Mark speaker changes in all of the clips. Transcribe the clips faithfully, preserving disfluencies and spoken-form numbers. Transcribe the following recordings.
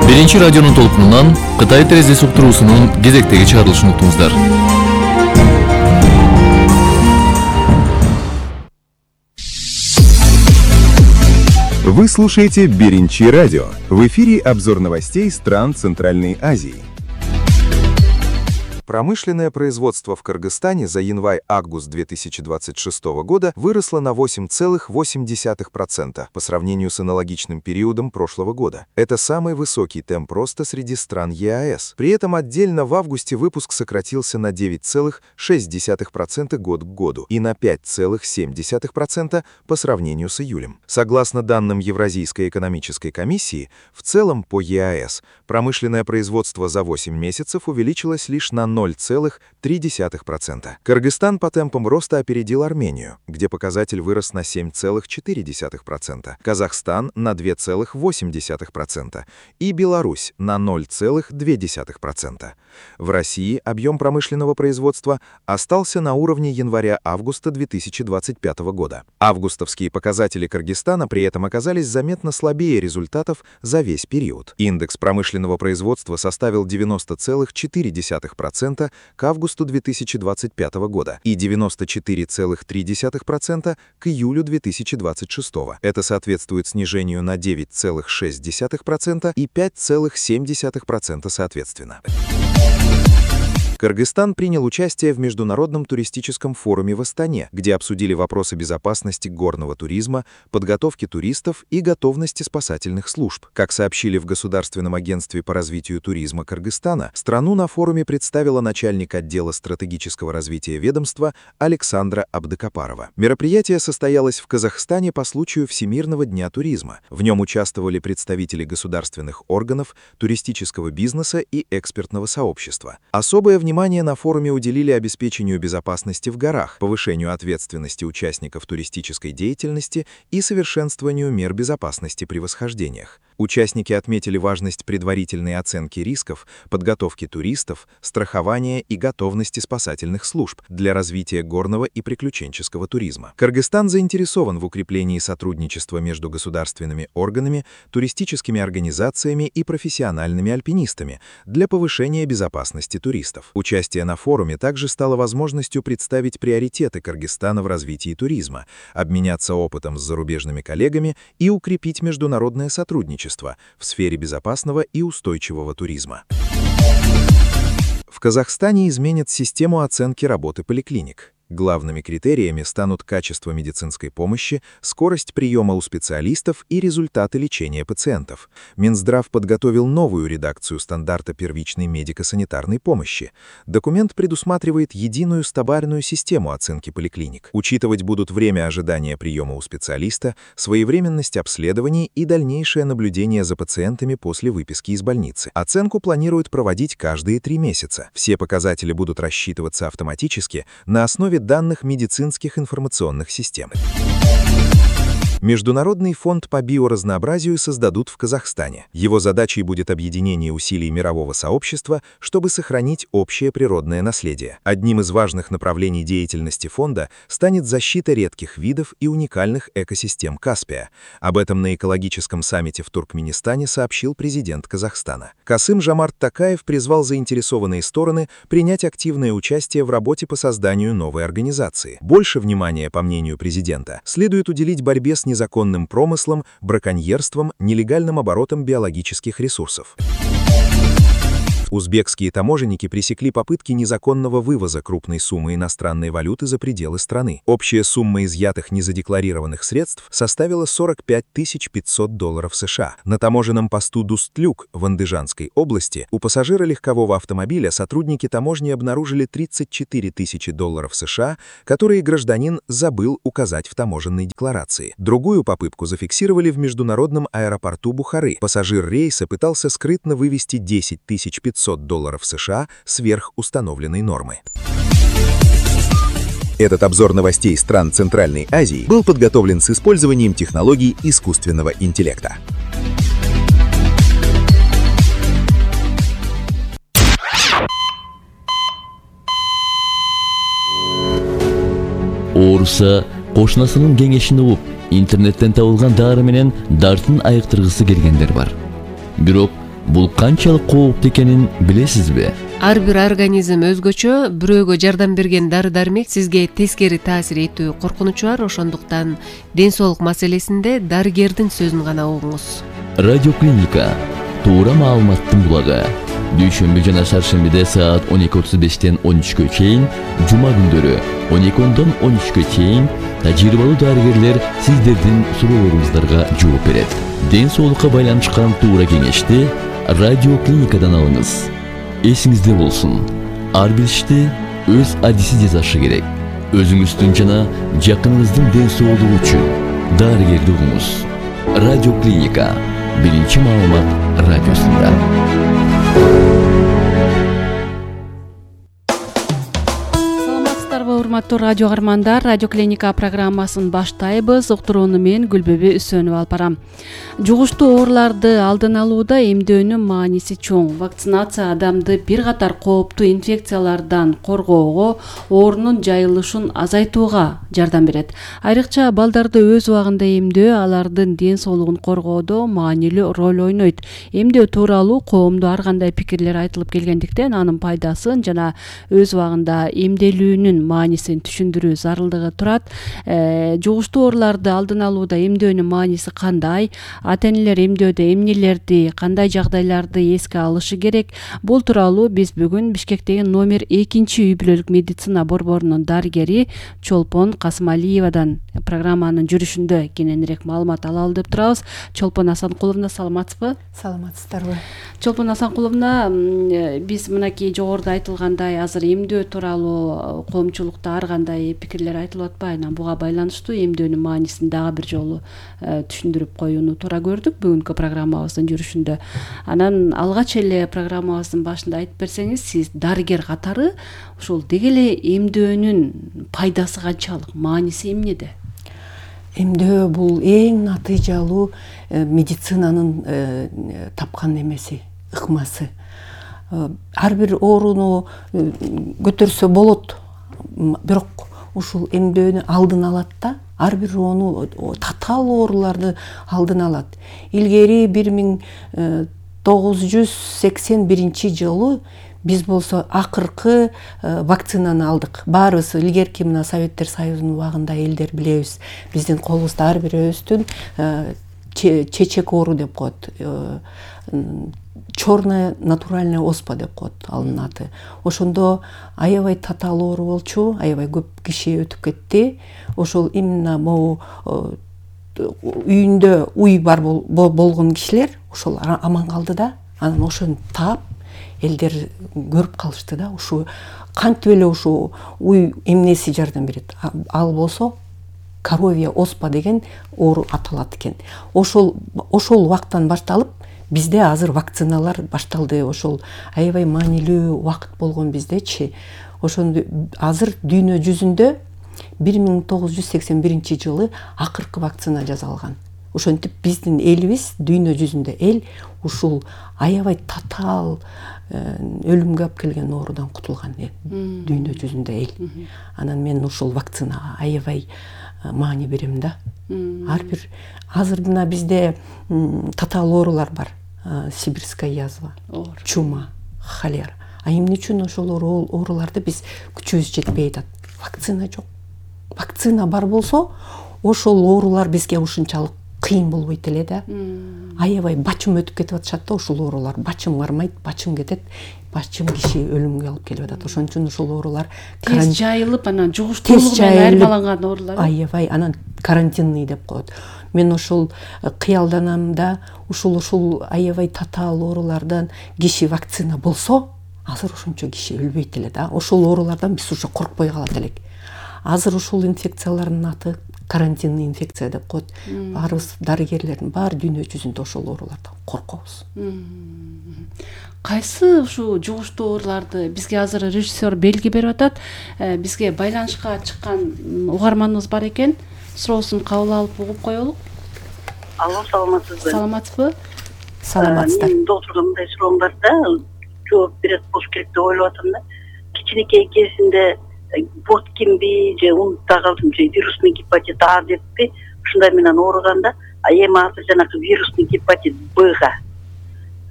Speaker 1: Биринчи радионун толкунунан Кытай терезеси уктуруусунун кезектеги чыгарылышын уктуңуздар.
Speaker 2: Вы слушаете Биринчи радио. В эфире обзор новостей стран Центральной Азии. Промышленное производство в Кыргызстане за январь-август две тысячи двадцать шестого года выросло на восемь целых восемь десятых процента по сравнению с аналогичным периодом прошлого года. Это самый высокий темп роста среди стран ЕАЭС. При этом отдельно в августе выпуск сократился на девять целых шесть десятых процента год к году и на пять целых семь десятых процента по сравнению с июлем. Согласно данным Евразийской экономической комиссии, в целом по ЕАЭС промышленное производство за восемь месяцев увеличилось лишь на ноль целых три десятых процента. Кыргызстан по темпам роста опередил Армению, где показатель вырос на семь целых четыре десятых процента, Казахстан на два целых восемь десятых процента и Беларусь на ноль целых две десятых процента. В России объем промышленного производства остался на уровне января-августа две тысячи двадцать пятого года. Августовские показатели Кыргызстана при этом оказались заметно слабее результатов за весь период. Индекс промышленного производства составил девяносто целых четыре десятых процента к августу две тысячи двадцать пятого года и девяносто четыре целых три десятых процента к июлю две тысячи двадцать шестого. Это соответствует снижению на девять целых шесть десятых процента и пять целых семь десятых процента соответственно. Кыргызстан принял участие в Международном туристическом форуме в Астане, где обсудили вопросы безопасности горного туризма, подготовки туристов и готовности спасательных служб. Как сообщили в Государственном агентстве по развитию туризма Кыргызстана, страну на форуме представила начальник отдела стратегического развития ведомства Александра Абдыкапарова. Мероприятие состоялось в Казахстане по случаю Всемирного дня туризма. В нем участвовали представители государственных органов, туристического бизнеса и экспертного сообщества. Особое внимание Внимание на форуме уделили обеспечению безопасности в горах, повышению ответственности участников туристической деятельности и совершенствованию мер безопасности при восхождениях. Участники отметили важность предварительной оценки рисков, подготовки туристов, страхования и готовности спасательных служб для развития горного и приключенческого туризма. Кыргызстан заинтересован в укреплении сотрудничества между государственными органами, туристическими организациями и профессиональными альпинистами для повышения безопасности туристов. Участие на форуме также стало возможностью представить приоритеты Кыргызстана в развитии туризма, обменяться опытом с зарубежными коллегами и укрепить международное сотрудничество в сфере безопасного и устойчивого туризма. В Казахстане изменят систему оценки работы поликлиник. Главными критериями станут качество медицинской помощи, скорость приема у специалистов и результаты лечения пациентов. Минздрав подготовил новую редакцию стандарта первичной медико-санитарной помощи. Документ предусматривает единую стабильную систему оценки поликлиник. Учитывать будут время ожидания приема у специалиста, своевременность обследований и дальнейшее наблюдение за пациентами после выписки из больницы. Оценку планируют проводить каждые три месяца. Все показатели будут рассчитываться автоматически на основе данных медицинских информационных систем. Международный фонд по биоразнообразию создадут в Казахстане. Его задачей будет объединение усилий мирового сообщества, чтобы сохранить общее природное наследие. Одним из важных направлений деятельности фонда станет защита редких видов и уникальных экосистем Каспия. Об этом на экологическом саммите в Туркменистане сообщил президент Казахстана. Касым-Жомарт Токаев призвал заинтересованные стороны принять активное участие в работе по созданию новой организации. Больше внимания, по мнению президента, следует уделить борьбе с незаконным промыслом, браконьерством, нелегальным оборотом биологических ресурсов. Узбекские таможенники пресекли попытки незаконного вывоза крупной суммы иностранной валюты за пределы страны. Общая сумма изъятых незадекларированных средств составила сорок пять тысяч пятьсот долларов США. На таможенном посту Дустлюк в Андыжанской области у пассажира легкового автомобиля сотрудники таможни обнаружили тридцать четыре тысячи долларов США, которые гражданин забыл указать в таможенной декларации. Другую попытку зафиксировали в международном аэропорту Бухары. Пассажир рейса пытался скрытно вывести десять тысяч пятьсот долларов США сверх установленной нормы. Этот обзор новостей стран Центральной Азии был подготовлен с использованием технологий искусственного интеллекта.
Speaker 1: Ооруса кошунасынын кеңешин угуп, интернеттен табылган дары менен дартын айыктыргысы келгендер бар. Бирок Бул канчалык кооптуу экенин билесизби?
Speaker 3: Ар бир организм өзгөчө, бирөөгө жардам берген дары-дармек сизге тескери таасир этүү коркунучу бар, ошондуктан ден соолук маселесинде дарыгердин сөзүн гана угуңуз.
Speaker 1: Радиоклиника туура маалыматтын булагы. Дүйшөмбү жана шаршембиде саат он эки отуз бештен он үчкө чейин, жума күндөрү он эки ондон он үчкө чейин тажрыйбалуу дарыгерлер сиздердин суроолоруңуздарга жооп берет. Ден соолукка байланышкан туура кеңешти радиоклиникадан алыңыз. Эсиңизде болсун, ар бир ишти өз адиси жасашы керек. Өзүңүздүн жана жакыныңыздын ден соолугу үчүн дарыгерди угуңуз. Радиоклиника биринчи маалымат радиосунда.
Speaker 4: Урматтуу радио каармандар, Радиоклиника программасын баштайбыз. Уктурууну мен Гүлбөбө Үсөнова алып барам. Жугуштуу ооруларды алдын алууда эмдөөнүн мааниси чоң. Вакцинация адамды бир катар кооптуу инфекциялардан коргоого, оорунун жайылышын азайтууга жардам берет. Айрыкча балдарды өз убагында эмдөө алардын ден соолугун коргоодо маанилүү роль ойнойт. Эмдөө тууралуу коомдо ар кандай пикирлер айтылып келгендиктен анын пайдасын жана өз убагында эмделүүнүн маанисин түшүндүрүү зарылдыгы турат. Э, жугуштуу ооруларды алдын алууда эмдөөнүн мааниси кандай? Ата-энелер эмдөөдө эмнелерди, кандай жагдайларды эске алышы керек? Бул тууралуу биз бүгүн Бишкектеги номер экинчи үй бүлөлүк медицина борборунун дарыгери Чолпон Касымалиевадан программанын жүрүшүндө кененирээк маалымат ала алып турабыз. Чолпон Асанкуловна, саламатсызбы?
Speaker 5: Саламатсыздарбы?
Speaker 4: Чолпон Асанкуловна, биз мынакей жогоруда айтылгандай азыр эмдөө тууралуу коомчулукта ар кандай пикирлер айтылып атпайбы? Анан буга байланыштуу эмдөөнүн маанисин дагы бир жолу түшүндүрүп коюуну туура көрдүк бүгүнкү программабыздын жүрүшүндө. Анан алгач эле программабыздын башында айтып берсеңиз, сиз дарыгер катары ушул деги эле эмдөөнүн пайдасы канчалык, мааниси эмнеде?
Speaker 5: Эмдөө бул эң натыйжалуу медицинанын тапкан эмеси, ыкмасы. Ар бир ооруну көтөрсө болот, бирок ушул эмдөөнү алдын алат да, ар бир ону татаал ооруларды алдын алат. Илгери бир миң тогуз жүз сексен биринчи жылы биз болсо акыркы вакцинаны алдык. Баарыбыз илгерки мына Советтер Союзунун убагында элдер билебиз. Биздин колубузда ар бирөөбүздүн чечек оору деп коет. Черная натуральная оспа деп коет анын аты. Ошондо аябай татаал оору болчу, аябай көп киши өтүп кетти. Ошол именно могу үйүндө уй бар болгон кишилер ошол аман калды да. Анан ошону таап элдер көрүп калышты да. Ушу кантип эле ушу уй эмнеси жардам берет. Ал болсо коровья оспа деген оору аталат экен. Ошол ошол убактан башталып бизде азыр вакциналар башталды. Ошол аябай маанилүү убакыт болгон биздечи. Ошондо азыр дүйнө жүзүндө бир миң тогуз жүз сексен биринчи жылы акыркы вакцина жасалган. Ошентип биздин элибиз дүйнө жүзүндө эл ушул аябай татаал өлүмгө алып келген оорудан кутулган дүйнө жүзүндө эл. Анан мен ушул вакцинага аябай маани берем да. Ар бир азыр мына бизде татаал оорулар бар. Сибирская язва, чума, холера. А эмне үчүн ошол ооруларды биз күчүбүз жетпей атат? Вакцина жок. Вакцина бар болсо, ошол оорулар бизге ушунчалык кыйын болбойт эле да. Аябай бачым өтүп кетип атышат да ошол оорулар. Бачым кармайт, бачым кетет. Бачым киши өлүмгө алып келип атат. Ошон үчүн ошол оорулар
Speaker 4: тез жайылып, анан жугуштуулугу менен айырмаланган оорулар.
Speaker 5: Аябай, анан карантинный деп коет. Мен ошол кыялданам да, ушул ушул аябай татаал оорулардан киши вакцина болсо, азыр ошончо киши өлбөйт эле да. Ошол оорулардан биз уже коркпой калат элек. Азыр ушул инфекциялардын аты карантинный инфекция деп коет. Баарыбыз дарыгерлердин баары дүйнө жүзүндө ошол оорулардан коркобуз.
Speaker 4: Кайсы ушул жугуштуу ооруларды бизге азыр режиссер белги берип атат. Бизге байланышка чыккан угарманыбыз бар экен. Суроосун кабыл алып угуп коелук.
Speaker 6: Алло, саламатсызбы?
Speaker 4: Саламатсызбы?
Speaker 5: Саламатсыздар.
Speaker 6: Мен доктурга мындай суроом бар да, жооп берет болуш керек деп ойлоп атам да. Кичинекей кезинде боткинби же унутта калдым же вирусный гепатит А деппи, ушундай менен ооруганда, а эми азыр жанагы вирусный гепатит Бга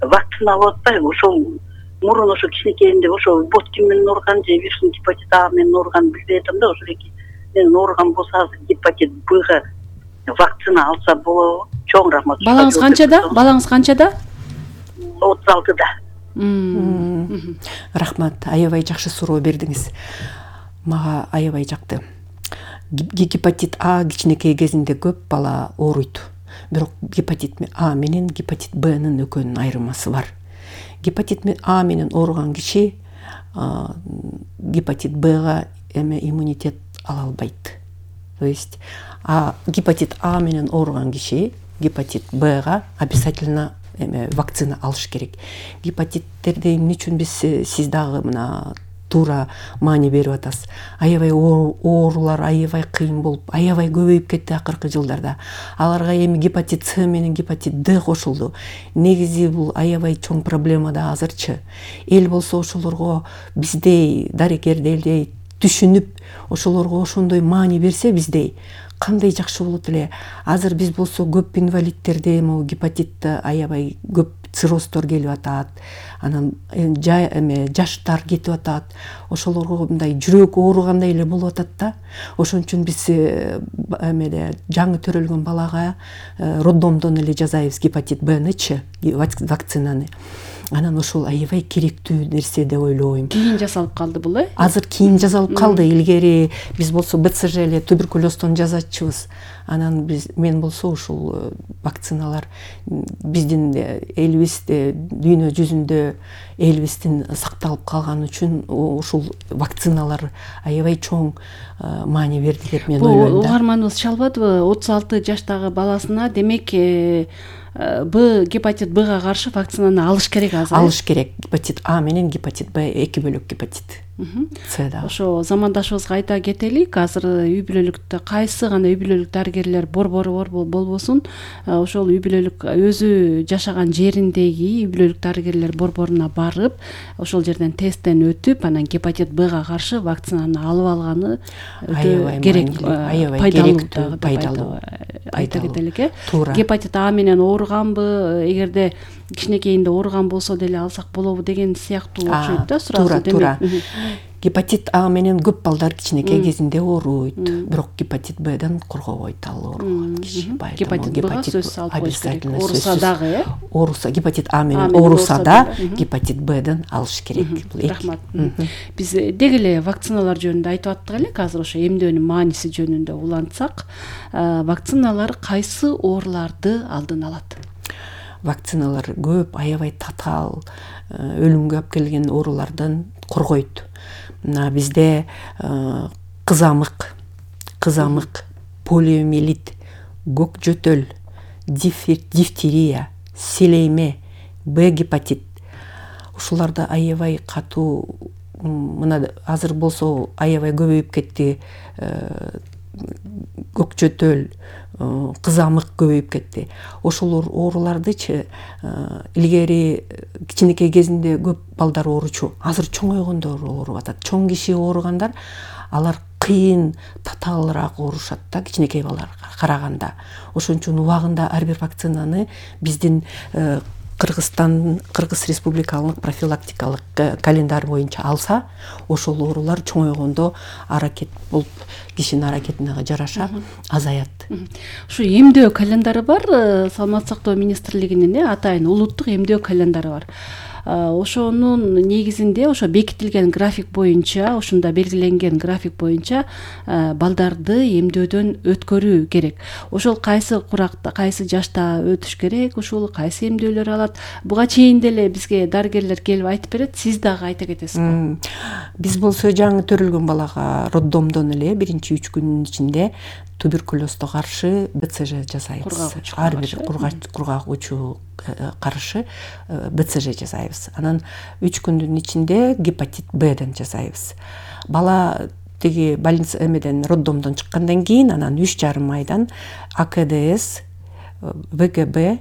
Speaker 6: вакцина вакцина алып атпайбы? Ошол мурун ошо кичинекейинде ошо боткин менен ооруган же вирусный гепатит А менен ооруган билбей атам да, ошол эки менен ооруган болсо азыр гепатит Бга вакцина алса болобу? Чоң рахмат.
Speaker 4: Балаңыз канчада? Балаңыз канчада?
Speaker 6: отуз алтыда.
Speaker 5: Рахмат, аябай жакшы суроо бердиңиз. Мага аябай жакты. Гепатит А кичинекей кезинде көп бала ооруйт. Бирок гепатит А менен гепатит Бнын экөөнүн айырмасы бар. Гепатит А менен ооруган киши гепатит Бга эме иммунитет ала албайт. То есть а гепатит А менен ооруган киши гепатит Бга обязательно эме вакцина алыш керек. Гепатиттерди эмне үчүн биз сиз дагы мына туура маани берип атасыз. Аябай оорулар аябай кыйын болуп, аябай көбөйүп кетти акыркы жылдарда. Аларга эми гепатит С менен гепатит Д кошулду. Негизи бул аябай чоң проблема да азырчы. Эл болсо ошолорго биздей дарыгердей түшүнүп, ошолорго ошондой маани берсе биздей кандай жакшы болот эле. Азыр биз болсо көп инвалидтерде могу гепатитте аябай көп циррозтор келип атат. Анан эме жаштар кетип атат. Ошолорго мындай жүрөк ооругандай эле болуп атат да. Ошон үчүн биз эмеде жаңы төрөлгөн балага роддомдон эле жасайбыз гепатит Бнычы вакцинаны. Анан ошол аябай керектүү нерсе деп ойлойм.
Speaker 4: Кийин жасалып калды бул, э?
Speaker 5: Азыр кийин жасалып калды. Илгери биз болсо Б Ц Ж эле туберкулездон жазачыбыз. Анан биз мен болсо ушул вакциналар биздин элибизде дүйнө жүзүндө элибиздин сакталып калганы үчүн ушул вакциналар аябай чоң маани берди деп мен ойлойм да.
Speaker 4: Угарманыбыз чалбадыбы? отуз алты жаштагы баласына демек Б гепатит Бга каршы вакцинаны алыш керек азыр.
Speaker 5: Алыш керек. Гепатит А менен гепатит Б эки бөлөк гепатит. С да.
Speaker 4: Ошо замандашыбызга айта кетелик, азыр үй бүлөлүктө кайсы гана үй бүлөлүк дарыгерлер борбору болбосун, ошол үй бүлөлүк өзү жашаган жериндеги үй бүлөлүк дарыгерлер борборуна барып, ошол жерден тесттен өтүп, анан гепатит Бга каршы вакцинаны алып алганы өтө керек, пайдалуу, пайдалуу. Айта кетелик, э? Гепатит А менен ооруганбы, эгерде кичинекейинде ооруган болсо деле алсак болобу деген сыяктуу окшойт да суроосу.
Speaker 5: Туура, туура. Гепатит А менен көп балдар кичинекей кезинде ооруйт, бирок гепатит Бден коргобойт ал ооруган киши.
Speaker 4: Гепатит Бга сөзсүз алып коюш керек. Ооруса дагы, э?
Speaker 5: Ооруса, гепатит А менен ооруса да гепатит Бден алыш керек.
Speaker 4: Рахмат. Биз деги эле вакциналар жөнүндө айтып аттык элек, азыр ошо эмдөөнүн мааниси жөнүндө улантсак, вакциналар кайсы ооруларды алдын алат?
Speaker 5: Вакциналар көп, аябай татаал, өлүмгө алып келген оорулардан коргойт. Мына бизде кызамык, кызамык, полиомиелит, көк жөтөл, дифтерия, селейме, Б гепатит. Ушуларда аябай катуу, мына азыр болсо аябай көбөйүп кетти. Көк жөтөл, кызамык көбөйүп кетти. Ошол оорулардычы илгери кичинекей кезинде көп балдар ооручу, азыр чоңойгондор ооруп атат. Чоң киши ооругандар алар кыйын, татаалыраак оорушат да кичинекей балдарга караганда. Ошон үчүн убагында ар бир вакцинаны биздин Кыргызстан, Кыргыз Республикалык профилактикалык календарь боюнча алса, ошол оорулар чоңойгондо аракет болуп, кишинин аракетине жараша азаят.
Speaker 4: Ушу эмдөө календары бар, Саламаттык сактоо министрлигинин атайын улуттук эмдөө календары бар. Ошонун негизинде ошо бекитилген график боюнча, ошондо белгиленген график боюнча балдарды эмдөөдөн өткөрүү керек. Ошол кайсы куракта, кайсы жашта өтүш керек, ушул кайсы эмдөөлөр алат. Буга чейин деле бизге дарыгерлер келип айтып берет, сиз дагы айта кетесизби?
Speaker 5: Биз болсо жаңы төрөлгөн балага роддомдон эле биринчи үч күндүн ичинде туберкулезге каршы Б Ц Ж жасайбыз. Ар бир кургагучу каршы Б Ц Ж жасайбыз. Анан үч күндүн ичинде гепатит Бден жасайбыз. Бала тиги больница эмеден роддомдон чыккандан кийин анан үч жарым айдан А К Д С, В Г Б,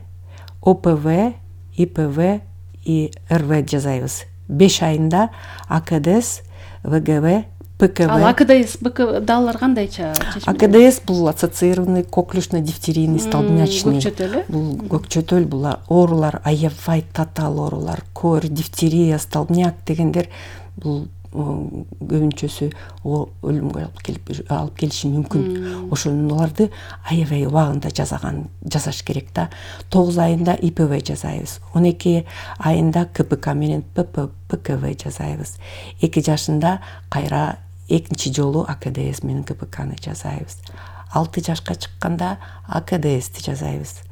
Speaker 5: О П В, И П В, И Р В жасайбыз. беш айында А К Д С, В Г Б, П ПКВ.
Speaker 4: Ал АКДС, БК дагылар кандайча чечим?
Speaker 5: АКДС бул ассоциированный коклюшно-дифтерийный столбнячный.
Speaker 4: Көкчөтөл,
Speaker 5: Бул көкчөтөл, бул оорулар, аябай татаал оорулар, кор, дифтерия, столбняк дегендер бул көбүнчөсү өлүмгө алып келип алып келиши мүмкүн. Ошоларды аябай убагында жасаган жасаш керек да. тогуз айында ИПВ жасайбыз. он эки айында КПК менен ПКВ жасайбыз. эки жашында кайра экинчи жолу АКДС менен КПКны жасайбыз. алты жашка чыкканда АКДСти жасайбыз.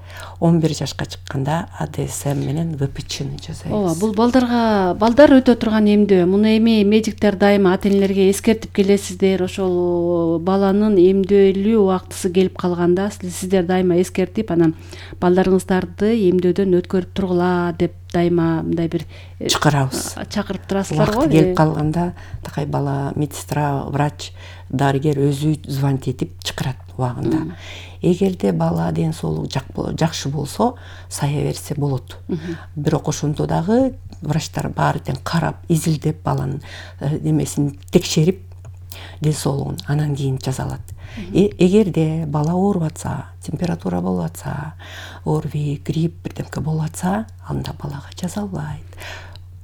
Speaker 5: он бир жашка чыкканда АДСМ менен ВПЧны жасайбыз.
Speaker 4: Ооба, бул балдарга балдар өтө турган эмдөө. Муну эми медиктер дайыма ата энелерге эскертип келесиздер. Ошол баланын эмдөөлүү убактысы келип калганда сиздер дайыма эскертип, анан балдарыңыздарды эмдөөдөн өткөрүп тургула деп дайыма мындай бир
Speaker 5: чакырабыз.
Speaker 4: Чакырып турасыздар го.
Speaker 5: Келип калганда такай бала медсестра, врач, дарыгер өзү звонить этип чакырат убагында. Эгерде бала ден соолугу жакшы болсо, сая берсе болот. Бирок ошондо дагы врачтар баары тең карап, изилдеп баланын немесин текшерип, ден соолугун анан кийин жазалат. Эгерде бала ооруп атса, температура болуп атса, ОРВИ, грипп бирдемке болуп атса, анда балага жазалбайт.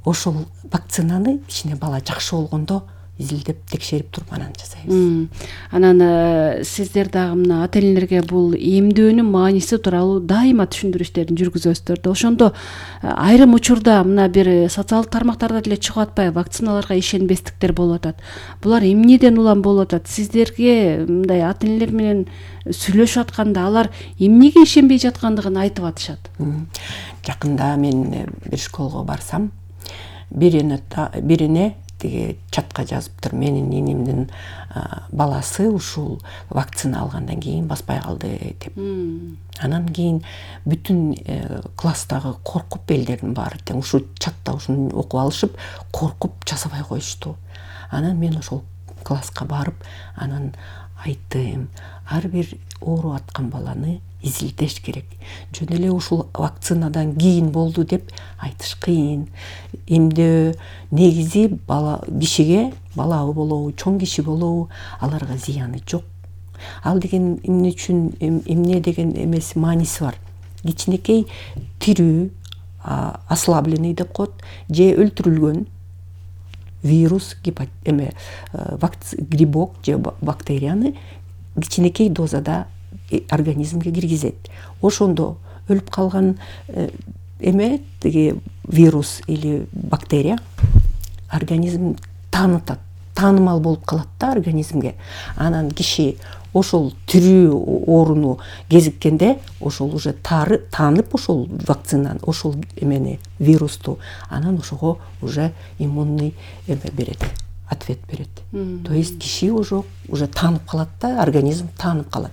Speaker 5: Ошол вакцинаны кичине бала жакшы болгондо изилдеп текшерип туруп анан жасайбыз.
Speaker 4: Анан сиздер дагы мына ата энелерге бул эмдөөнүн мааниси тууралуу дайыма түшүндүрүштөрүн жүргүзөсүздөр да. Ошондо айрым учурда мына бир социалдык тармактарда деле чыгып атпайбы, вакциналарга ишенбестиктер болуп атат. Булар эмнеден улам болуп атат? Сиздерге мындай ата энелер менен сүйлөшүп атканда алар эмнеге ишенбей жаткандыгын айтып атышат.
Speaker 5: Жакында мен бир школго барсам, бирине бирине тиги чатка жазыптыр, менин инемдин баласы ушул вакцина алгандан кийин баспай калды деп. Анан кийин бүтүн класстагы коркуп, элдердин баары тең ушул чатта ушуну окуп алышып, коркуп жасабай коюшту. Анан мен ошол класска барып, анан айттым, ар бир ооруп аткан баланы изилдеш керек. Жөн эле ушул вакцинадан кийин болду деп айтыш кыйын. Эмдөө негизи бала кишиге, бала болобу, чоң киши болобу, аларга зыяны жок. Ал деген эмне үчүн, эмне деген эмеси мааниси бар. Кичинекей тирүү, ослабленный деп коет, же өлтүрүлгөн вирус, эме грибок же бактерияны кичинекей дозада организмге киргизет. Ошондо өлүп калган эме тиги вирус или бактерия организм таанытат, таанымал болуп калат да организмге. Анан киши ошол тирүү ооруну кезиккенде ошол уже тары таанып ошол вакцинаны, ошол эмени вирусту, анан ошого уже иммунный эме берет, ответ берет. То есть киши уже уже таанып калат да, организм таанып калат.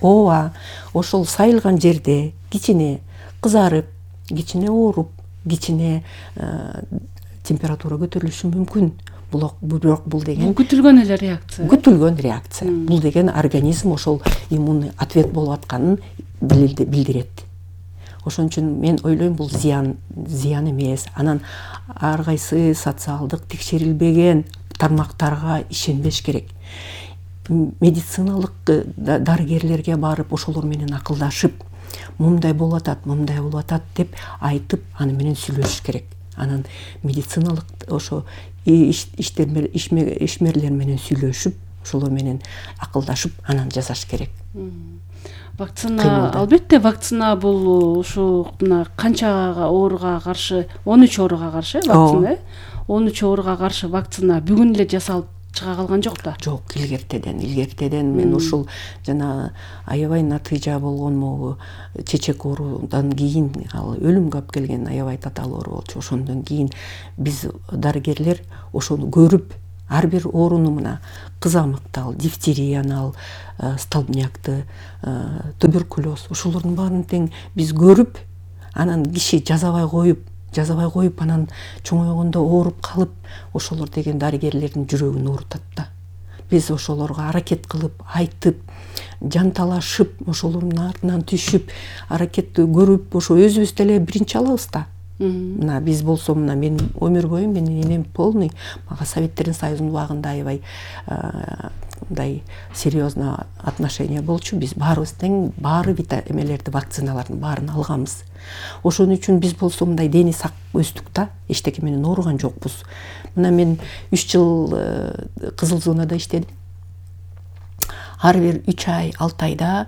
Speaker 5: Ооба, ошол сайылган жерде кичине кызарып, кичине ооруп, кичине температура көтөрүлүшү мүмкүн. Бирок бул деген
Speaker 4: күтүлгөн эле реакция.
Speaker 5: Күтүлгөн реакция. Бул деген организм ошол иммунный ответ болуп атканын билдирет. Ошон үчүн мен ойлойм, бул зыян зыян эмес. Анан ар кайсы социалдык текшерилбеген тармактарга ишенбеш керек. Медициналык дарыгерлерге барып, ошолор менен акылдашып, мындай болуп атат, мындай болуп атат деп айтып, аны менен сүйлөшүш керек. Анан медициналык ошо ишмерлер менен сүйлөшүп, ошолор менен акылдашып, анан жасаш керек.
Speaker 4: Вакцина, албетте вакцина бул ушу мына канча ооруга каршы, он үч ооруга каршы вакцина, он үч ооруга каршы вакцина бүгүн эле жасалып чыга калган жок да.
Speaker 5: Жок, илгертеден, илгертеден мен ушул жана аябай натыйжа болгон могу чечек оорудан кийин ал өлүмгө алып келген аябай татаал оору болчу. Ошондон кийин биз дарыгерлер ошону көрүп, ар бир ооруну мына кызамыкты ал, дифтерияны ал, столбнякты, туберкулез, ошолордун баарын тең биз көрүп, анан киши жазабай коюп, жазабай коюп анан чоңойгондо ооруп калып, ошолор деген дарыгерлердин жүрөгүн оорутат да. Биз ошолорго аракет кылып, айтып, жанталашып, ошолордун артынан түшүп, аракетти көрүп, ошо өзүбүз деле биринчи алабыз да. Мына биз болсо мына мен өмүр бою менин энем полный мага Советтердин Союзунун убагында аябай мындай серьезно отношение болчу. Биз баарыбыз тең баары эмелерди вакциналардын баарын алганбыз. Ошон үчүн биз болсо мындай дени сак өстүк да, эчтеке менен ооруган жокпуз. Мына мен үч жыл кызыл зонада иштедим. Ар бир үч ай, алты айда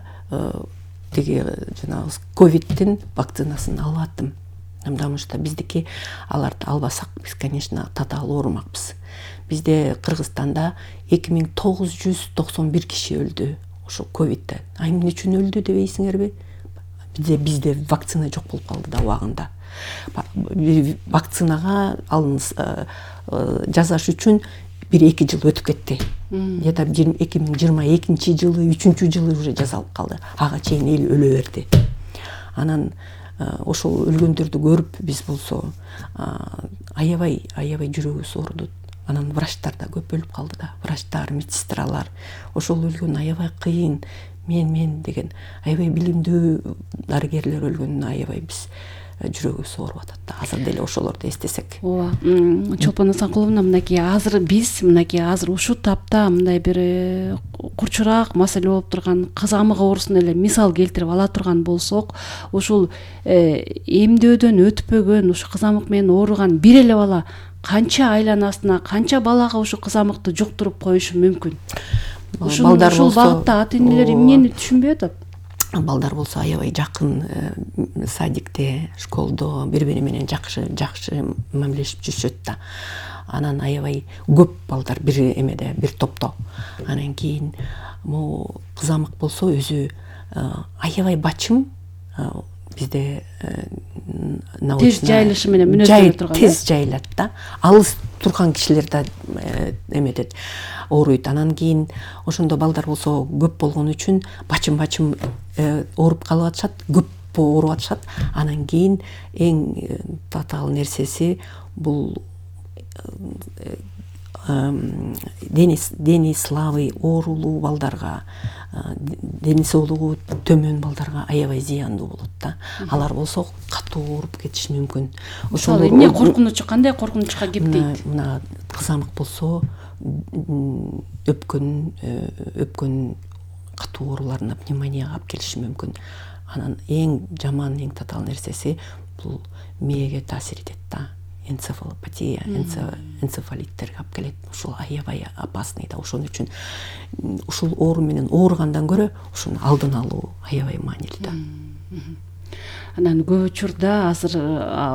Speaker 5: тиги жанагы ковидтин вакцинасын алып аттым. Потому что биздики аларды албасак биз, конечно, татаал оорумакпыз. Бизде Кыргызстанда эки миң тогуз жүз токсон бир киши өлдү ошо ковидтен. А эмне үчүн өлдү дебейсиңерби? Бизде бизде вакцина жок болуп калды да убагында. Вакцинага алыныс жасаш үчүн бир эки жыл өтүп кетти. Где-то эки миң жыйырма экинчи жылы, үчүнчү жылы уже жасалып калды. Ага чейин эл өлө берди. Анан ошол өлгөндөрдү көрүп биз болсо аябай аябай жүрөгүбүз ооруду. Анан врачтар да көп өлүп калды да. Врачтар, медсестралар. Ошол өлгөн аябай кыйын. Мен мен деген аябай билимдүү дарыгерлер өлгөнүнө аябай биз жүрөгүбүз ооруп атат да. Азыр деле ошолорду эстесек.
Speaker 4: Ооба. Чолпон Асанкуловна, мынакей азыр биз мынакей азыр ушул тапта мындай бир курчураак маселе болуп турган кызамык оорусун эле мисал келтирип ала турган болсок, ушул эмдөөдөн өтпөгөн, ушу кызамык менен ооруган бир эле бала канча айланасына, канча балага ушу кызамыкты жуктуруп коюшу мүмкүн? Балдар ушул багытта ата энелер эмнени түшүнбөй атат?
Speaker 5: Балдар болсо аябай жакын садикте, школдо бири-бири менен жакшы жакшы мамилешип жүрүшөт да. Анан аябай көп балдар бир эмеде, бир топто. Анан кийин могу кызамык болсо өзү аябай бачым, бизде
Speaker 4: тез жайылышы менен мүнөздөнө турган.
Speaker 5: Тез жайылат да. Алыс турган кишилер да эметет, ооруйт. Анан кийин ошондо балдар болсо көп болгон үчүн бачым-бачым ооруп калып атышат, көп ооруп атышат. Анан кийин эң татаал нерсеси бул дени дени слабый, оорулуу балдарга, дени соолугу төмөн балдарга аябай зыяндуу болот да. Алар болсо катуу ооруп кетиши мүмкүн.
Speaker 4: Ошол эмне коркунучу, кандай коркунучка кептейт?
Speaker 5: Мына кызамык болсо өпкөн өпкөн катуу ооруларына, пневмонияга алып келиши мүмкүн. Анан эң жаман, эң татаал нерсеси бул мээге таасир этет да. Энцефалопатия, энцефалиттерге алып келет. Ушул аябай опасный да. Ошон үчүн ушул оору менен ооругандан көрө ушуну алдын алуу аябай маанилүү да.
Speaker 4: Анан көп учурда азыр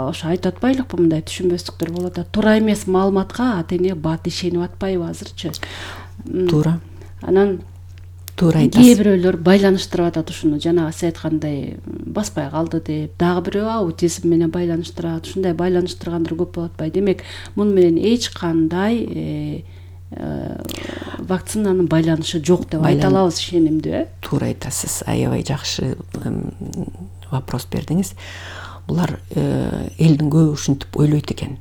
Speaker 4: ошо айтып атпайлыкпы, мындай түшүнбөстүктөр болот да. Туура эмес маалыматка ата эне бат ишенип атпайбы азырчы?
Speaker 5: Туура.
Speaker 4: Анан
Speaker 5: туура айтасыз.
Speaker 4: Кээ бирөөлөр байланыштырып атат ушуну, жанагы сиз айткандай баспай калды деп, дагы бирөө аутизм менен байланыштырат. Ушундай байланыштыргандар көп болуп атпайбы? Демек, муну менен эч кандай вакцинанын байланышы жок деп айта алабыз, ишенимдүү, э?
Speaker 5: Туура айтасыз. Аябай жакшы вопрос бердиңиз. Булар элдин көбү ушинтип ойлойт экен.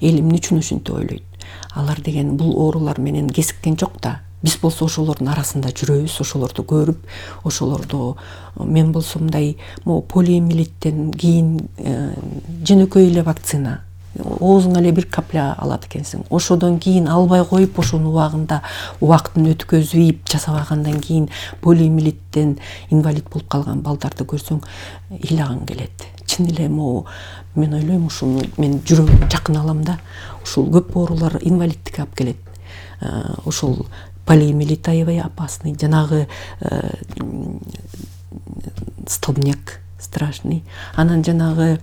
Speaker 5: Эл эмне үчүн ушинтип ойлойт? Алар деген бул оорулар менен кезиккен жок да. Биз болсо ошолордун арасында жүрөбүз, ошолорду көрүп, ошолорду мен болсо мындай могу полиомиелиттен кийин жөнөкөй эле вакцина. Оозуңа эле бир капля алат экенсиң. Ошодон кийин албай коюп, ошону убагында убактын өткөзүп жасабагандан кийин полиомиелиттен инвалид болуп калган балдарды көрсөң ыйлагың келет. Чын эле могу мен ойлойм, ушуну мен жүрөгүмө жакын алам да. Ушул көп оорулар инвалидтикке алып келет. Ошол полиомиелит аябай опасный. Жанагы столбняк страшный. Анан жанагы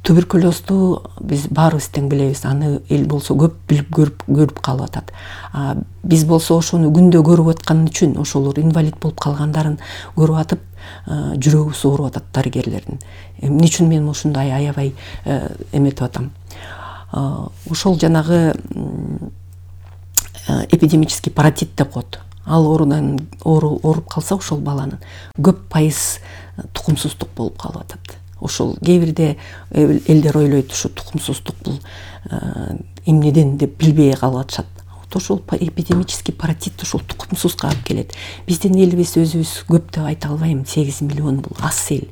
Speaker 5: туберкулезду биз баарыбыз тең билебиз. Аны эл болсо көп билип көрүп көрүп калып атат. А биз болсо ошону күндө көрүп аткан үчүн, ошолор инвалид болуп калгандарын көрүп атып, жүрөгүбүз ооруп атат дарыгерлердин. Эмне үчүн мен ушундай аябай эметип атам? Ошол жанагы эпидемический паротит деп коет. Ал оорудан ооруп калса ошол баланын көп пайыз тукумсуздук болуп калып атат. Ошол кээ бирде элдер ойлойт, ушу тукумсуздук бул эмнеден деп билбей калып атышат. Ошол эпидемический паротит ушул тукумсузга алып келет. Биздин элибиз өзүбүз көп деп айта албайм, сегиз миллион бул аз эл.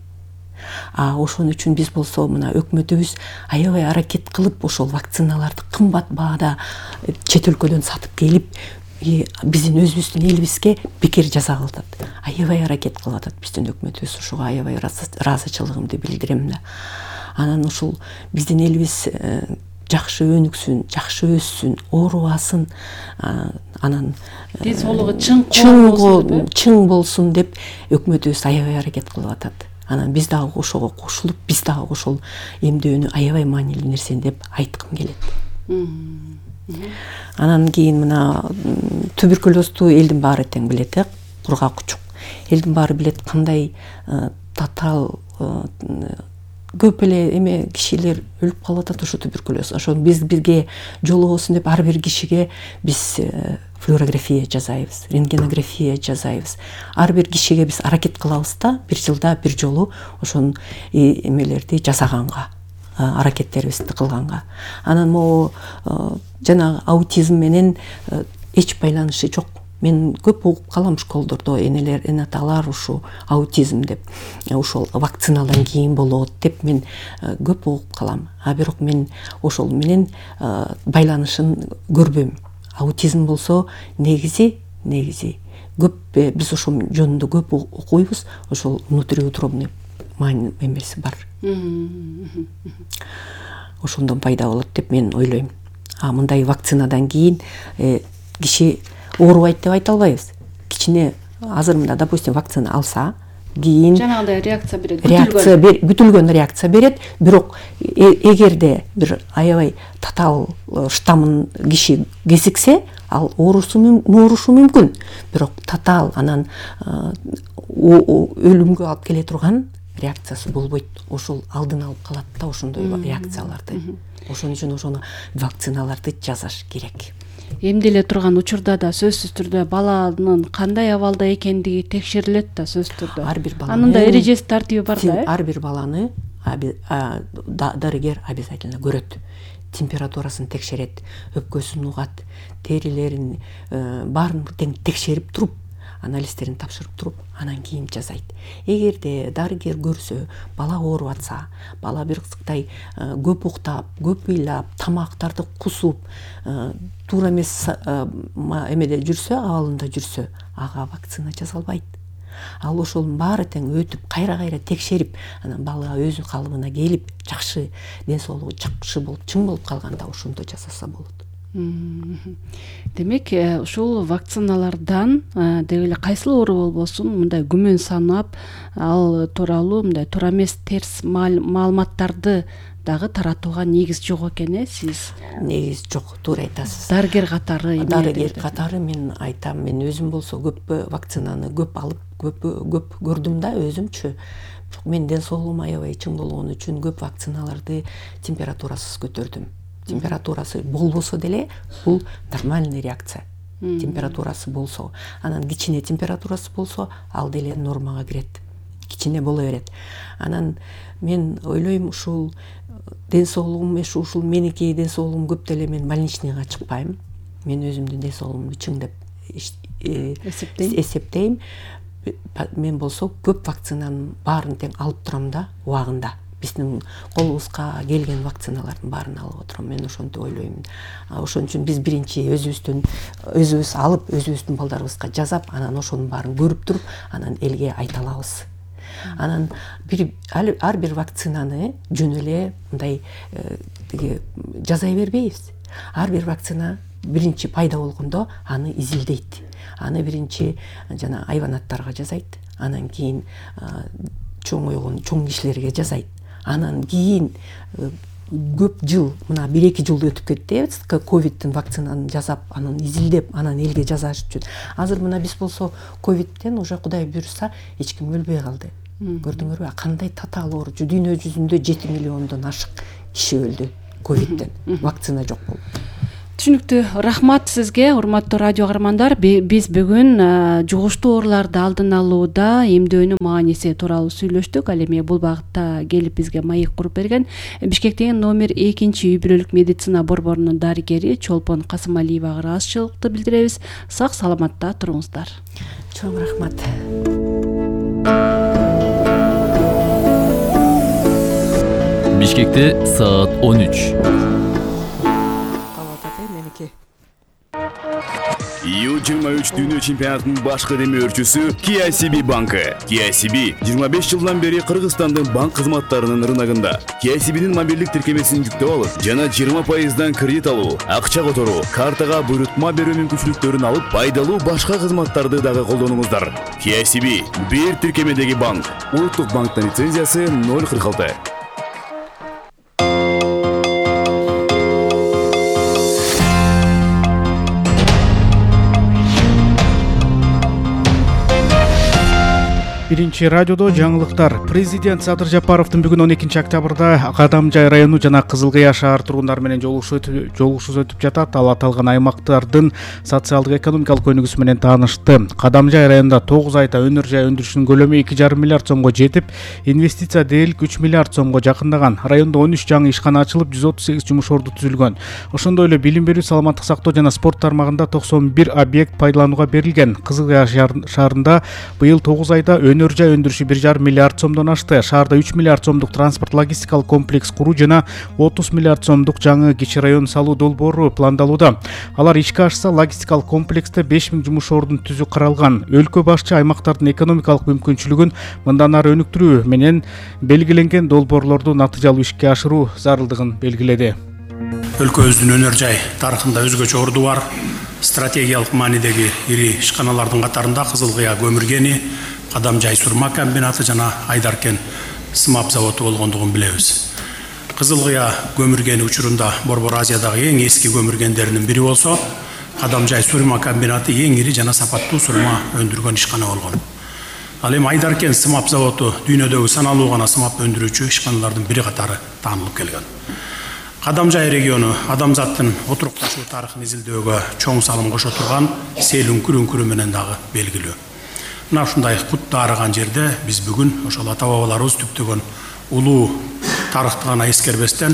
Speaker 5: А ошон үчүн биз болсо мына өкмөтүбүз аябай аракет кылып ошол вакциналарды кымбат баада чет өлкөдөн сатып келип биздин өзүбүздүн элибизге бекер жаза кылып атат. Аябай аракет кылып атат биздин өкмөтүбүз. Ошого аябай ыраазычылыгымды билдирем да. Анан ушул биздин элибиз жакшы өнүксүн, жакшы өссүн, оорубасын, анан
Speaker 4: ден соолугу чың
Speaker 5: чың болсун деп өкмөтүбүз аябай аракет кылып атат. Анан биз дагы ошого кошулуп, биз дагы ошол эмдөөнү аябай маанилүү нерсе деп айткым келет. Анан кийин мына туберкулезду элдин баары тең билет, э, кургак учук. Элдин баары билет кандай татаал көп эле эме кишилер өлүп калып атат ушу туберкулез. Ошо биз бирге жолугусун деп ар бир кишиге биз флюорография жасайбыз, рентгенография жасайбыз. Ар бир кишиге биз аракет кылабыз да, бир жылда бир жолу ошон эмелерди жасаганга, аракеттерибизди кылганга. Анан могу жана аутизм менен эч байланышы жок. Мен көп угуп калам школдордо, энелер, энаталар ушу аутизм деп, ошол вакцинадан кийин болот деп мен көп угуп калам. А бирок мен ошол менен байланышын көрбөйм. Аутизм болсо негизи, негизи көп биз ошол жөнүндө көп окуйбуз, ошол внутриутробный эмеси бар. Ошондон пайда болот деп мен ойлойм. А мындай вакцинадан кийин киши оорубайт деп айта албайбыз. Кичине азыр мында допустим вакцина алса, кийин
Speaker 4: жанагындай реакция берет.
Speaker 5: Реакция күтүлгөн реакция берет, бирок эгерде бир аябай татаал штаммын киши кезиксе, ал оорушу мүмкүн. Бирок татаал анан өлүмгө алып келе турган реакциясы болбойт. Ошол алдын алып калат да ошондой реакцияларды. Ошон үчүн ошону вакциналарды жасаш керек.
Speaker 4: Эмделе турган учурда да сөзсүз түрдө баланын кандай абалда экендиги текшерилет да сөзсүз түрдө.
Speaker 5: Ар бир баланы
Speaker 4: анын да эрежеси тартиби бар да.
Speaker 5: Ар бир баланы дарыгер обязательно көрөт. Температурасын текшерет, өпкөсүн угат, терилерин баарын тең текшерип туруп, анализтерин тапшырып туруп, анан кийин жасайт. Эгерде дарыгер көрсө, бала ооруп атса, бала бир кызыктай көп уктап, көп ыйлап, тамактарды кусуп, туура эмес эмеде жүрсө, абалында жүрсө, ага вакцина жасалбайт. Ал ошонун баары тең өтүп, кайра-кайра текшерип, анан бала өзү калыбына келип, жакшы ден соолугу жакшы болуп, чың болуп калганда ошондо жасаса болот.
Speaker 4: Демек, ушул вакциналардан деги эле кайсыл оору болбосун, мындай күмөн санап, ал тууралуу мындай туура эмес терс маалыматтарды дагы таратууга негиз жок экен, э, сиз?
Speaker 5: Негиз жок, туура айтасыз.
Speaker 4: Дарыгер катары,
Speaker 5: дарыгер катары мен айтам, мен өзүм болсо көп вакцинаны көп алып, көп көп көрдүм да өзүмчү. Мен ден соолугум аябай чың болгон үчүн көп вакциналарды температурасыз көтөрдүм. Температурасы болбосо деле бул нормальный реакция. Температурасы болсо, анан кичине температурасы болсо, ал деле нормага кирет. Кичине боло берет. Анан мен ойлойм, ушул ден соолугум, ушул меники ден соолугум көп деле мен больничныйга чыкпайм. Мен өзүмдүн ден соолугумду чың деп эсептейм. Мен болсо көп вакцинанын баарын тең алып турам да, убагында. Биздин колубузга келген вакциналардын баарын алып отурам. Мен ошентип ойлойм. Ошон үчүн биз биринчи өзүбүздүн өзүбүз алып, өзүбүздүн балдарыбызга жасап, анан ошонун баарын көрүп туруп, анан элге айта алабыз. Анан бир ар бир вакцинаны жөн эле мындай тиги жасай бербейбиз. Ар бир вакцина биринчи пайда болгондо аны изилдейт. Аны биринчи жана айванаттарга жасайт, анан кийин чоңойгон чоң кишилерге жасайт. Анан кийин көп жыл, мына бир эки жыл өтүп кетти, ковидтин вакцинаны жасап, анан изилдеп, анан элге жасаш үчүн. Азыр мына биз болсо ковидтен уже Кудай буйруса эч ким өлбөй калды. Көрдүңөрбү? Кандай татаал оору. Дүйнө жүзүндө жети миллиондон ашык киши өлдү ковидтен. Вакцина жок болуп.
Speaker 4: Түшүнүктүү. Рахмат сизге, урматтуу радио каармандар. Биз бүгүн жугуштуу ооруларды алдын алууда эмдөөнүн мааниси тууралуу сүйлөштүк. Ал эми бул багытта келип бизге маек куруп берген Бишкектеги номер экинчи үй бүлөлүк медицина борборунун дарыгери Чолпон Касымалиевага ыраазычылыкты билдиребиз. Сак саламатта туруңуздар.
Speaker 5: Чоң рахмат.
Speaker 1: Бишкекте саат он үч.
Speaker 7: ю жыйырма үч дүйнө чемпионатынын башкы демөөрчүсү K I C B банкы. K I C B жыйырма беш жылдан бери Кыргызстандын банк кызматтарынын рыногунда. K I C B'нин мобилдик тиркемесин жүктөп алып, жана жыйырма пайыздан кредит алуу, акча которуу, картага буйрутма берүү мүмкүнчүлүктөрүн алып, пайдалуу башка кызматтарды дагы колдонуңуздар. K I C B бир тиркемедеги банк. Улуттук банктын лицензиясы ноль кырк алты.
Speaker 8: Биринчи радиодо жаңылыктар. Президент Садыр Жапаровдун бүгүн он экинчи октябрда Кадамжай району жана Кызыл Кыя шаар тургундары менен жолугушуу өтүп жатат. Ал аталган аймактардын социалдык экономикалык өнүгүүсү менен таанышты. Кадамжай районунда тогуз айда өнөр жай өндүрүшүнүн көлөмү эки жарым миллиард сомго жетип, инвестиция дээрлик үч миллиард сомго жакындаган. Райондо он үч жаңы ишкана ачылып, жүз отуз сегиз жумуш орду түзүлгөн. Ошондой эле билим берүү, саламаттык сактоо жана спорт тармагында токсон бир объект пайдаланууга берилген. Кызыл Кыя шаарында быйыл тогуз айда өнөр жай өндүрүшү бир жарым миллиард сомдон ашты. Шаарда үч миллиард сомдук транспорт логистикалык комплекс куруу жана отуз миллиард сомдук жаңы кичи район салуу долбоору пландалууда. Алар ишке ашса, логистикалык комплексте беш миң жумуш ордун түзүү каралган. Өлкө башчы аймактардын экономикалык мүмкүнчүлүгүн мындан ары өнүктүрүү менен белгиленген долбоорлорду натыйжалуу ишке ашыруу зарылдыгын белгиледи.
Speaker 9: Өлкөбүздүн өнөр жай тарыхында өзгөчө орду бар. Стратегиялык маанидеги ири ишканалардын катарында Кызыл Кыя көмүр кени, Кадамжай сурма комбинаты жана Айдаркен сымап заводу болгондугун билебиз. Кызыл Кыя көмүр кени учурунда Борбор Азиядагы эң эски көмүр кендеринин бири болсо, Кадамжай сурма комбинаты эң ири жана сапаттуу сурма өндүргөн ишкана болгон. Ал эми Айдаркен сымап заводу дүйнөдөгү саналуу гана сымап өндүрүүчү ишканалардын бири катары таанылып келген. Кадамжай региону адамзаттын отурукташуу тарыхын изилдөөгө чоң салым кошо турган сел үңкүр-үңкүрү менен дагы белгилүү. Мына ушундай кутта арыган жерде биз бүгүн ошол ата бабаларыбыз түптөгөн улуу тарыхты гана эскербестен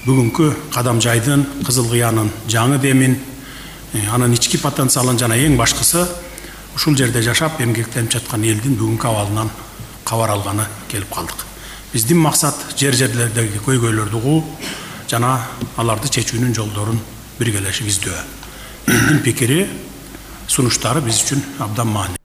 Speaker 9: бүгүнкү Кадамжайдын, Кызыл Кыянын жаңы демин, анын ички потенциалын жана эң башкысы ушул жерде жашап эмгектенип жаткан элдин бүгүнкү абалынан кабар алганы келип калдык. Биздин максат жер жерлердеги көйгөйлөрдү угуу жана аларды чечүүнүн жолдорун биргелешип издөө. Элдин пикири, сунуштары биз үчүн абдан маанилүү.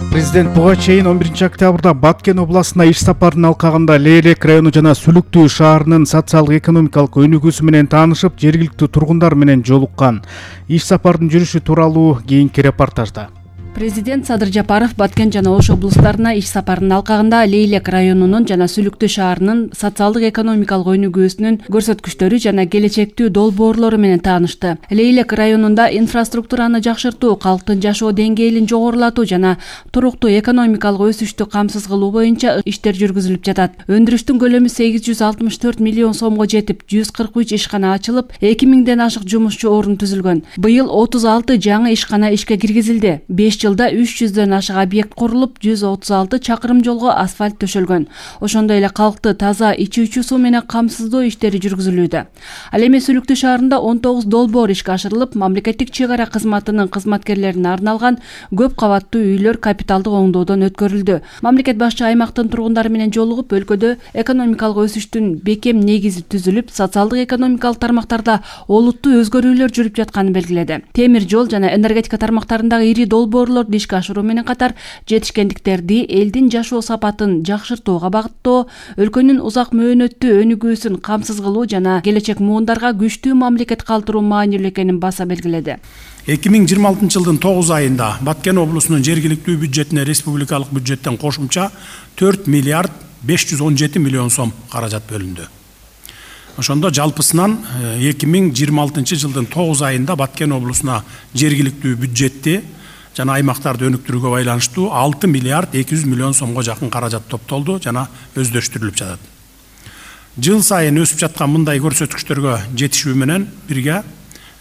Speaker 8: Президент буга чейин он биринчи октябрда Баткен областына иш сапарын алкагында Лейлек району жана Сүлүктүү шаарынын социалдык экономикалык өнүгүүсү менен таанышып, жергиликтүү тургундар менен жолуккан. Иш сапардын жүрүшү тууралуу кийинки репортажда.
Speaker 4: Президент Садыр Жапаров Баткен жана Ош облустарына иш сапарынын алкагында Лейлек районунун жана Сүлүктүү шаарынын социалдык экономикалык өнүгүүсүнүн көрсөткүчтөрү жана келечектүү долбоорлору менен таанышты. Лейлек районунда инфраструктураны жакшыртуу, калктын жашоо деңгээлин жогорулатуу жана туруктуу экономикалык өсүштү камсыз кылуу боюнча иштер жүргүзүлүп жатат. Өндүрүштүн көлөмү сегиз жүз алтымыш төрт миллион сомго жетип, жүз кырк үч ишкана ачылып, эки миңден ашык жумушчу орун түзүлгөн. Быйыл отуз алты жаңы ишкана ишке киргизилди. беш жылда үч жүздөн ашык объект курулуп, жүз отуз алты чакырым жолго асфальт төшөлгөн. Ошондой эле калкты таза ичүүчү суу менен камсыздоо иштери жүргүзүлүүдө. Ал эми Сүлүктүү шаарында он тогуз долбоор ишке ашырылып, мамлекеттик чек ара кызматынын кызматкерлерине арналган көп кабаттуу үйлөр капиталдык оңдоодон өткөрүлдү. Мамлекет башчы аймактын тургундары менен жолугуп, өлкөдө экономикалык өсүштүн бекем негизи түзүлүп, социалдык экономикалык тармактарда олуттуу өзгөрүүлөр жүрүп жатканын белгиледи. Темир жол жана энергетика тармактарындагы ири долбоорлорду ишке ашыруу менен катар жетишкендиктерди, элдин жашоо сапатын жакшыртууга багыттоо, өлкөнүн узак мөөнөттүү өнүгүүсүн камсыз кылуу жана келечек муундарга күчтүү мамлекет калтыруу маанилүү экенин баса белгиледи.
Speaker 9: эки миң жыйырма алтынчы жылдын тогуз айында Баткен облусунун жергиликтүү бюджетине республикалык бюджеттен кошумча төрт миллиард беш жүз он жети миллион сом каражат бөлүндү. Ошондо жалпысынан эки миң жыйырма алтынчы жылдын тогуз айында Баткен облусуна жергиликтүү бюджетти жана аймактарды өнүктүрүүгө байланыштуу алты миллиард эки жүз миллион сомго жакын каражат топтолду жана өздөштүрүлүп жатат. Жыл сайын өсүп жаткан мындай көрсөткүчтөргө жетишүү менен бирге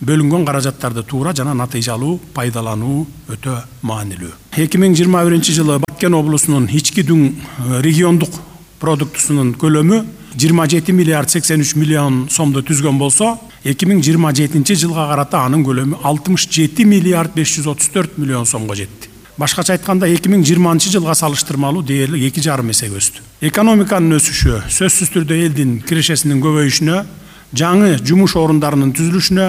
Speaker 9: бөлүнгөн каражаттарды туура жана натыйжалуу пайдалануу өтө маанилүү. эки миң жыйырма биринчи жылы Баткен облусунун ички дүң региондук продуктусунун көлөмү жыйырма жети миллиард сексен үч миллион сомду түзгөн болсо, эки миң жыйырма жетинчи жылга карата анын көлөмү алтымыш жети миллиард беш жүз отуз төрт миллион сомго жетти. Башкача айтканда эки миң жыйырманчы жылга салыштырмалуу дээрлик эки жарым эсеге өстү. Экономиканын өсүшү сөзсүз түрдө элдин кирешесинин көбөйүшүнө, жаңы жумуш орундарынын түзүлүшүнө,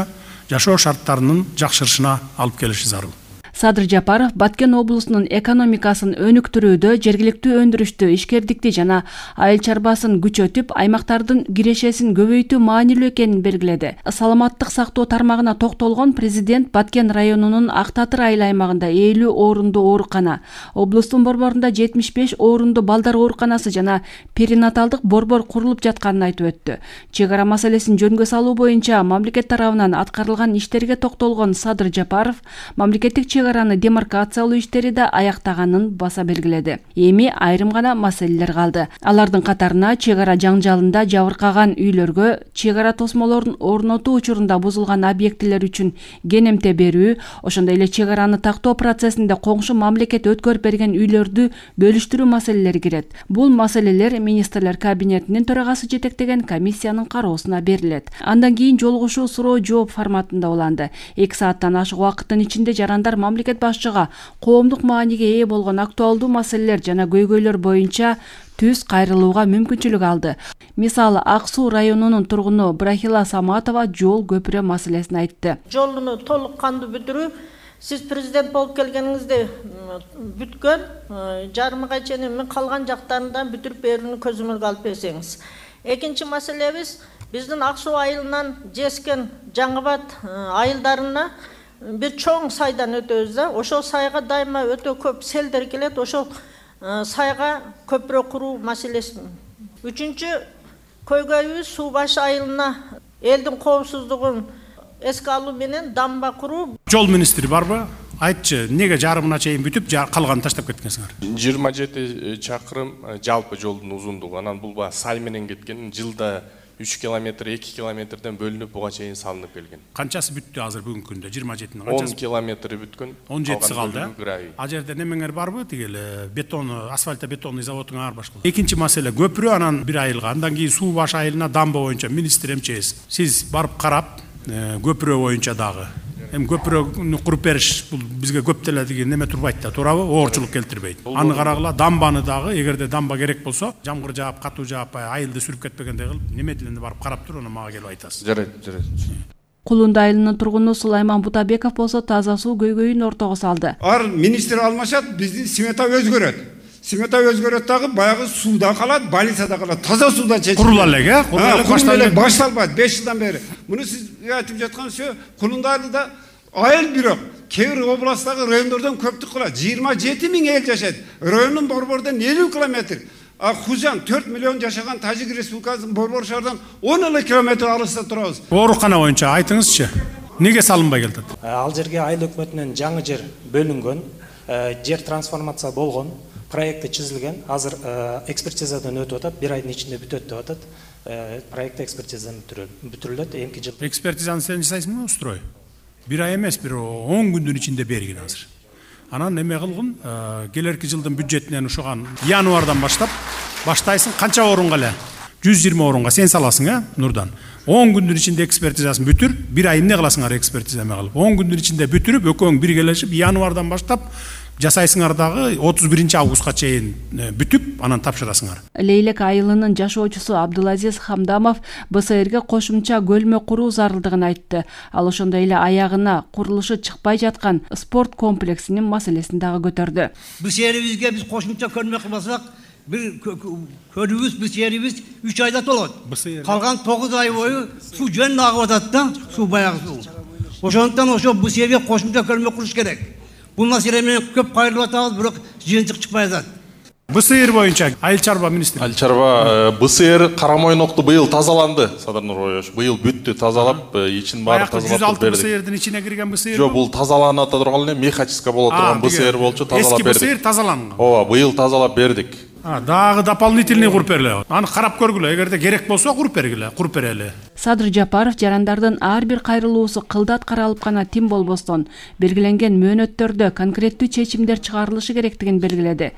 Speaker 9: жашоо шарттарынын жакшырышына алып келиши зарыл.
Speaker 4: Садыр Жапаров Баткен облусунун экономикасын өнүктүрүүдө жергиликтүү өндүрүштү, ишкердикти жана айыл чарбасын күчөтүп, аймактардын кирешесин көбөйтүү маанилүү экенин белгиледи. Саламаттык сактоо тармагына токтолгон президент Баткен районунун Ак Татыр айыл аймагында элүү орундуу оорукана, облустун борборунда жетимиш беш орундуу балдар ооруканасы жана перинаталдык борбор курулуп жатканын айтып өттү. Чек ара маселесин жөнгө салуу боюнча мамлекет тарабынан аткарылган иштерге токтолгон Садыр Жапаров мамлекеттик чек араны демаркациялоо иштери да аяктаганын баса белгиледи. Эми айрым гана маселелер калды. Алардын катарына чек ара жаңжалында жабыркаган үйлөргө чек ара тосмолорун орнотуу учурунда бузулган объектилер үчүн кенемте берүү, ошондой эле чек араны тактоо процессинде коңшу мамлекет өткөрүп берген үйлөрдү бөлүштүрүү маселелери кирет. Бул маселелер министрлер кабинетинин төрагасы жетектеген комиссиянын кароосуна берилет. Андан кийин жолугушуу суроо жооп форматында уланды. эки сааттан ашык убакыттын ичинде жарандар мамлекет башчыга коомдук мааниге ээ болгон актуалдуу маселелер жана көйгөйлөр боюнча түз кайрылууга мүмкүнчүлүк алды. Мисалы, Ак Суу районунун тургуну Брахила Саматова жол көпүрө маселесин айтты.
Speaker 10: Жолуну толук кандуу бүтүрүү, сиз президент болуп келгениңизде бүткөн, жарымга чейин калган жактарынан бүтүрүп берүүнү көзөмөлгө алып берсеңиз. Экинчи маселебиз, биздин Ак Суу айылынан Жескен, Жаңыбат айылдарына бир чоң сайдан өтөбүз да, ошол сайга дайыма өтө көп селдер келет, ошол сайга көпүрө куруу маселеси. Үчүнчү көйгөйүбүз Суу Баш айылына элдин коопсуздугун эске алуу менен дамба куруу.
Speaker 9: Жол министри барбы? Айтчы, неге жарымына чейин бүтүп, калганын таштап кеткенсиңер?
Speaker 11: жыйырма жети чакырым жалпы жолдун узундугу. Анан бул сай менен кеткен, жылда үч километр, эки километрден бөлүнүп буга чейин салынып келген.
Speaker 9: Канчасы бүттү азыр бүгүнкү күндө? жыйырма жетинин
Speaker 11: канчасы? он километри бүткөн.
Speaker 9: он жетиси калды. А жерде немеңер барбы? Тигел бетон, асфальта бетонный заводуңар башка. Экинчи маселе көпүрө, анан бир айылга, андан кийин Суу Баш айылына дамба боюнча министр МЧС. Сиз барып карап, көпүрө боюнча дагы. Эми көпүрөнү куруп бериш бул бизге көп деле деген неме турбайт да, туурабы? Оорчулук келтирбейт. Аны карагыла, дамбаны дагы, эгерде дамба керек болсо, жамгыр жаап, катуу жаап, айылды сүрүп кетпегендей кылып, неме тиленде барып карап туруп, аны мага келип айтасыз.
Speaker 11: Жарайт, жарайт.
Speaker 4: Кулунду айылынын тургуну Сулайман Бутабеков болсо таза суу көйгөйүн ортого салды.
Speaker 12: Ар министр алмашат, биздин смета өзгөрөт. Смета өзгөрөт дагы, баягы сууда калат, больницада калат, таза сууда чечилет.
Speaker 9: Курулал эле,
Speaker 12: курулал эле башталбайт беш жылдан бери. Муну сиз айтып жаткансыз, Кулунду айылында айыл бирок кээ бир областтагы райондордон көптүк кылат. жыйырма жети миң эл жашайт. Райондун борборунан элүү километр. А Хужан төрт миллион жашаган Тажик Республикасынын борбор шаарынан он эле километр алыста турабыз.
Speaker 9: Оорукана боюнча айтыңызчы. Неге салынбай келет?
Speaker 13: Ал жерге айыл өкмөтүнөн жаңы жер бөлүнгөн, жер трансформация болгон, проекти чизилген. Азыр экспертизадан өтүп атат, бир айдын ичинде бүтөт деп атат. Проект экспертизадан бүтүрүлөт, эмки жыл.
Speaker 9: Экспертизаны сен жасайсыңбы, устрой? Бир ай эмес, бир он күндүн ичинде бергин азыр. Анан эме кылгын, келерки жылдын бюджетинен ушуган январдан баштап баштайсың, канча орунга эле? жүз жыйырма орунга сен саласың, э, Нурдан. он күндүн ичинде экспертизасын бүтүр, бир ай эмне кыласыңар экспертиза эме кылып? он күндүн ичинде бүтүрүп, экөөң биргелешип, январдан баштап жасайсыңар дагы отуз биринчи августка чейин бүтүп, анан тапшырасыңар.
Speaker 4: Лейлек айылынын жашоочусу Абдулазиз Хамдамов Б С Рге кошумча көлмө куруу зарылдыгын айтты. Ал ошондой эле аягына курулушу чыкпай жаткан спорт комплексинин маселесин дагы көтөрдү.
Speaker 14: Биз жерибизге биз кошумча көлмө кылбасак, бир көрүүбүз, биз жерибиз үч айда толот. Калган тогуз ай бою суу жөн агып атат да, суу баягы суу. Ошондуктан ошо бу жерге кошумча көлмө куруш керек. Бул маселе менен көп кайрылып атабыз, бирок жыйынтык чыкпай атат.
Speaker 9: Б С Р боюнча айыл чарба министри.
Speaker 11: Айыл чарба Б С Р Карамойнокту быйыл тазаланды, Садыр Нурбаевич. Быйыл бүттү, тазалап, ичин баары тазалап бердик. жүз алты Б С Рдин ичине кирген Б С Р. Жок, бул тазаланып турган эле механическа боло турган Б С Р болчу, тазалап бердик.
Speaker 9: Эски Б С Р тазаланган.
Speaker 11: Ооба, быйыл тазалап бердик.
Speaker 9: А, дагы дополнительный куруп бергиле. Аны карап көргүлө, эгерде керек болсо куруп бергиле, куруп берели.
Speaker 4: Садыр Жапаров жарандардын ар бир кайрылуусу кылдат каралып гана тим болбостон, белгиленген мөөнөттөрдө конкреттүү чечимдер чыгарылышы керектигин белгиледи.